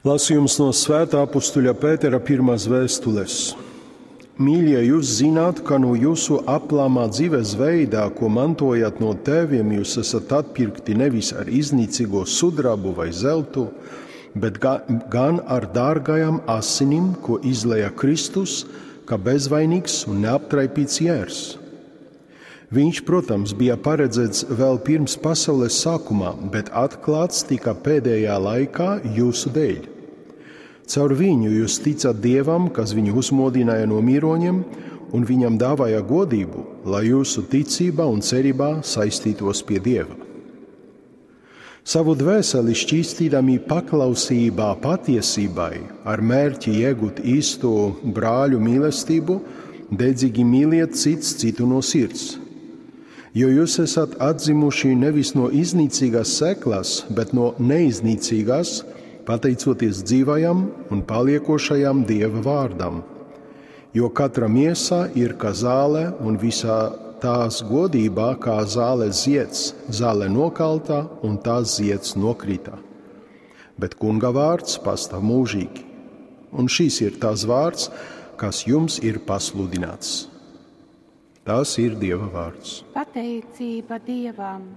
Lasījums no Svētā apustuļa Pētera pirmās vēstules. Mīļie, jūs zināt, ka no jūsu aplamā dzīves veidā, ko mantojat no tēviem, jūs esat atpirkti nevis ar iznīcīgo sudrabu vai zeltu, bet gan ar dārgajām asinim, ko izlēja Kristus, kā bezvainīgs un neaptraipīts jērs. Viņš, protams, bija paredzēts vēl pirms pasaules sākumā, bet atklāts tika pēdējā laikā jūsu dēļ. Caur viņu jūs ticat Dievam, kas viņu uzmodināja no miroņiem un viņam dāvāja godību, lai jūsu ticība un cerībā saistītos pie Dieva. Savu dvēseli šķīstīdami paklausībā patiesībai, ar mērķi iegūt īsto brāļu mīlestību, dedzīgi mīliet cits citu no sirds. Jo jūs esat atzimuši nevis no iznīcīgās sēklas, bet no neiznīcīgās, pateicoties dzīvajam un paliekošajam Dieva vārdam. Jo katra miesa ir kā zāle, un visā tās godībā kā zāles zieds, zāle nokalta un tās zieds nokrita. Bet kunga vārds pastāv mūžīgi. Un šis ir tas vārds, kas jums ir pasludināts. Tas ir Dieva vārds. Pateicība Dievam!